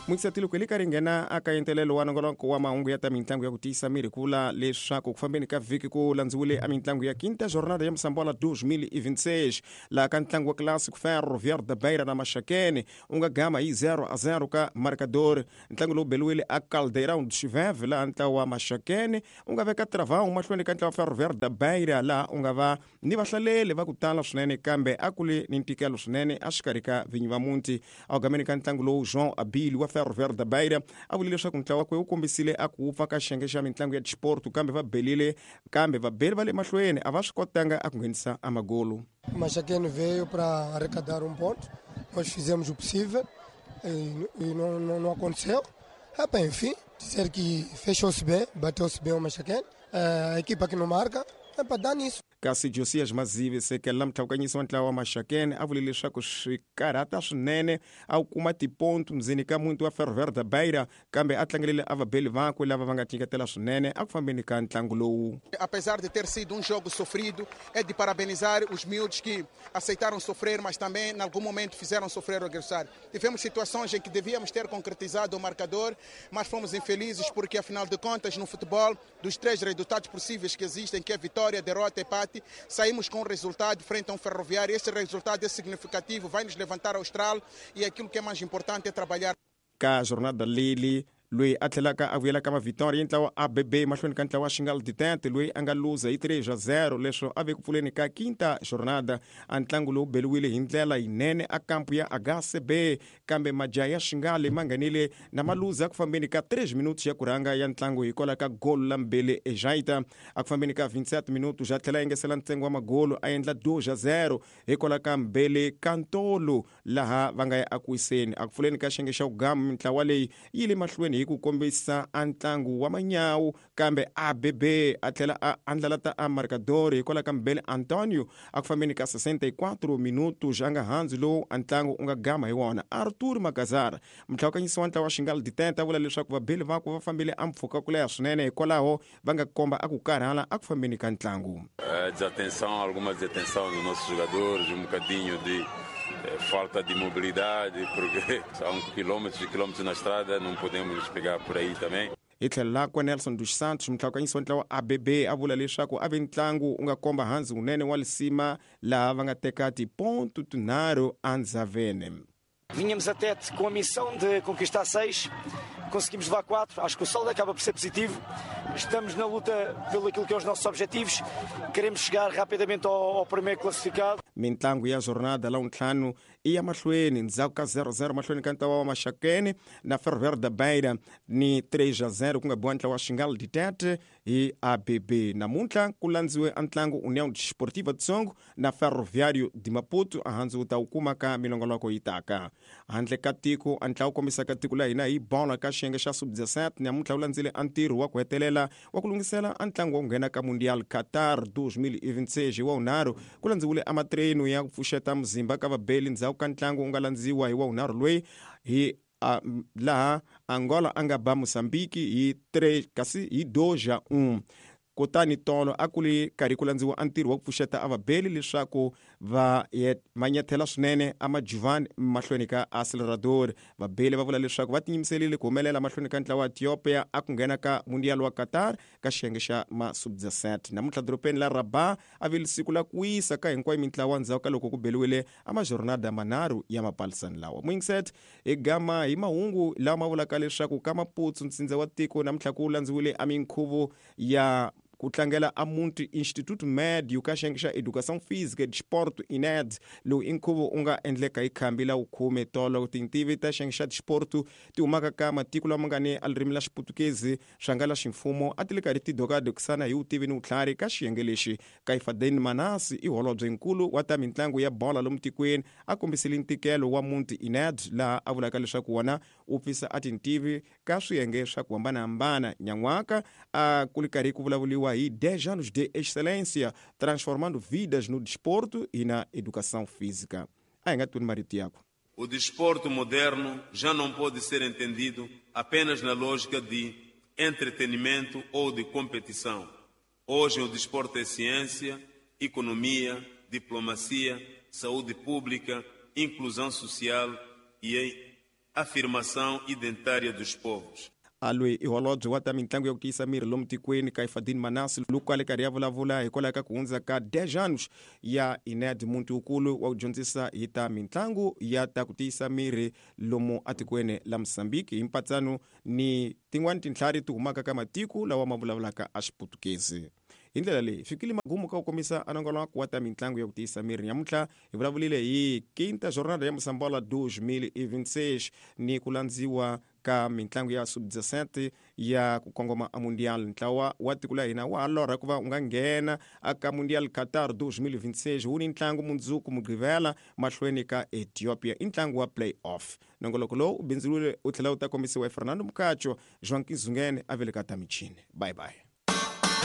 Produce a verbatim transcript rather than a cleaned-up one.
Mukisatilo kweli ka ringena aka entelelo wa nongoloko wa mahungu ya ta mintlangu ya ku tiyisa miri ku vula leswaku ku fambeni ka vhiki ku landziwile a mintlangu ya quinta jornada ya Moçambola dois mil e vinte e seis laha ka ntlangu wa Clássico Ferroviário da Beira na Maxakene u nga gama hi zero a zero ka marcador. Ntlangu lowu beliwile a Caldeirão dos Chiveve laha ntlawa wa Maxakene u nga veka Travão mahlweni ka ntlawa wa Ferroviário da Beira laha u nga va ni vahlaleli va ku tala swinene kambe a ku li ni ntikelo swinene exikarhi ka vinyi va muti. A gameni ka ntlangu lowu João Abílio wa Ferroviário da Beira a vule leswaku ntlawa wakwe wu kombisile a ku wupfa ka xiyenge xa mintlangu ya disporto kambe va belile kambe vabeli va le mahlweni a va swi kotanga a ku nghenisa amagolo. O Maxakene veio para arrecadar um ponto, nós fizemos o possível e, e não, não, não aconteceu. Ah, bem, enfim, dizer que fechou-se bem, bateu-se bem o Maxakene, a equipa que não marca, é para dar nisso. Kasi Josias Mazive sekela mtlhawukanyisi wa ntlawa wa Maxakene a vule leswaku swi karhata swinene a wu kuma tipontu ndzeni ka muti wa Ferroviário da Beira kambe a tlangelele a vabeli vakwe lava va nga tinyiketela swinene a ku fambeni ka ntlangu lowu. Apesar de ter sido um jogo sofrido, é de parabenizar os miúdos que aceitaram sofrer, mas também em algum momento fizeram sofrer o adversário. Tivemos situações em que devíamos ter concretizado o marcador, mas fomos infelizes porque, afinal de contas, no futebol, dos três resultados possíveis que existem, que é vitória, derrota e empate, saímos com um resultado frente a um Ferroviário. Esse resultado é significativo, vai nos levantar austral e aquilo que é mais importante é trabalhar. Ka jornada leli loyi a tlhelaka a vuyela ka mavhitori ntlawa A B B mahlweni ka ntlawa Xingal Ditente loyi a nga luza hi three a zero leswo a ve ku pfuleni ka quinta jornada. A ntlangu lowu beliwile hi ndlela yinene a kampu ya H C B kambe majaha ya Xingale ma nghenile na maluza ku fambeni ka three minutos ya ku rhanga ya ntlangu hikwalaho ka golo la Mbele Ejaita. A ku fambeni ka twenty-seven minutos a tlhela a engesela ntsengo wa magolo a endla two a zero hikwalaho ka Mbele Kantolo laha va nga ya akuwiseni. A ku pfuleni ka xiyenge xa ku gama mintlawa leyi yi le mahlweni hi ku kombisa a ntlangu wa manyawu kambe A B B a tlhela a andlala ta a marcador hikwalaho ka Mbele Antonio a ku fambeni ka sessenta e quatro minutos a nga handzi lowu a ntlangu u nga gama hi wona. Arthur Magazara mtlhawukanyisi wa ntlawa wa Xingal Ditente a vula leswaku vabeli vakwe va fambile a mpfhuka ku leha swinene hikwalaho va nga komba a ku karhala a ku fambeni ka ntlangu. Desatenção, alguma desatenção dos nossos jogadores, um bocadinho de falta de mobilidade, porque são quilômetros e quilômetros na estrada, não podemos pegar por aí também. Hi tlhelo lakwe Nelson dos Santos mtlhawukanyisi wa ntlawa A B B a vula leswaku a ve ntlangu u nga komba handzi wunene wa lisima laha va nga teka tiponto tinharhu endzhaveni. Vinhamos até com a missão de conquistar seis, conseguimos levar quatro, acho que o saldo acaba por ser positivo. Estamos na luta pelo aquilo que é os nossos objetivos, queremos chegar rapidamente ao, ao primeiro classificado. Mintlangu ya jornada la ntlhanu i ya mahlweni ndzhaku ka zero zero mahlweni ka ntlawa wa Maxakene na Ferroviário da Beira ni three a zero ku nga biwa ntlawa wa Xingal Ditete hi A B B. Namuntlha ku landziwe a ntlangu União Desportiva de Songo na Ferroviário de Maputo a handzi wu ta wu kuma ka milongoloko yi taka. Handle ka tiko a ntlawa kombisaka tiko la hina hi bola ka xiyenge xa sub dezessete namuntlha wu landzile a ntirho wa ku hetelela wa ku lunghisela a ntlangu wa ku nghena ka Mundial Qatar dois mil e vinte e seis hi wa wunharhu ku landziwile a matreno ya ku pfuxeta muzimba ka vabeli ndzhaku ka ntlangu wu nga landziwa hi wa wunharhu loyi hi a, laha Angola a nga ba Mozambique hi three kasi hi dois a um. Kutani tolo a ku li karhi ku landziwa a ntirho wa ku pfuxeta a vabeli leswaku va manyethela swinene a majuvani mahlweni ka Acelerador. Vabeli va vula leswaku va tinyimiserile ku humelela mahlweni ka ntlawa wa Ethiopia a ku nghena ka Mundial wa Qatar ka xiyenge xa ma sub dezessete. Namuntlha dorobeni la Rabat a vile siku la ku wisa ka hinkwayo mintlawa ndzhaku ka loko ku beliwile a majornada manharhu ya mapalisani lawa. Mwingiset hi gama hi mahungu lawa ma vulaka leswaku ka Maputo ntsindza wa tiko namuntlha ku landziwile a minkhuvo ya ku tlangela a Munti Instituto Médio ka xiyenge xa Educação Física e Desporto I N E D lowu i nkhuvo u nga endleka hi khambi la wukhume tolo. Tintivi ta xiyenge xa desporto ti humaka ka matiko lama nga ni a ririmi la Xiputukezi swa nga la ximfumo a ti le karhi ti dokadokisana hi vutivi ni vutlhari ka xiyenge lexi. Kaifadeni Manasi i holobyenkulu wa ta mintlangu ya bola lomu tikweni a kombisile ntikelo wa Munti I N E D laha a vulaka leswaku wona wu pfisa a tintivi ka swiyenge swa ku hambanahambana. Nyan'waka a ku ri karhi ku vulavuriwa hi dez anos de excelência, transformando vidas no desporto e na educação física. A hi nga tweni marito yakwe. O desporto moderno já não pode ser entendido apenas na lógica de entretenimento ou de competição. Hoje o desporto é ciência, economia, diplomacia, saúde pública, inclusão social e afirmação identitária dos povos. A loyi i holobye wa ta mitlangu ya ku tiyisa miri lomu tikweni Kaifadin Manasi loko a le karhi ya vulavula hikwalaho ka ku hundza ka dez anos ya I N E D, muti wukulu wa ku dyondzisa hi ta mitlangu ya ta ku tiyisa miri lomu atikweni la Mosambiki, hi mpatsano ni tin'wani tintlhari ti humaka ka matiko lawa ma vulavulaka a Xiputukezi. Hi ndlela leyi fikile magumu ka ku komisa anongoloko wa ta mitlangu ya ku tiyisa miri. Nyamuntlha hi vulavulile hi quinta jornada ya Moçambola dois mil e vinte e seis ni ku landziwa ka mitlangu ya sub dezessete ya ku kongoma a Mundial. Ntlawa wa tiko la hina wa ha lorha ku va u nga nghena aka Mundial Qatar dois mil e vinte e seis. Wu ni ntlangu mundzuku Mugqivela mahlweni ka Ethiopia, i ntlangu wa play off. Nongoloko lowu u bindzuriwile u tlhela wu ta kombisiwa hi Fernando Mukacho. Joan Kizungene a veleka ta michini. Bye bye.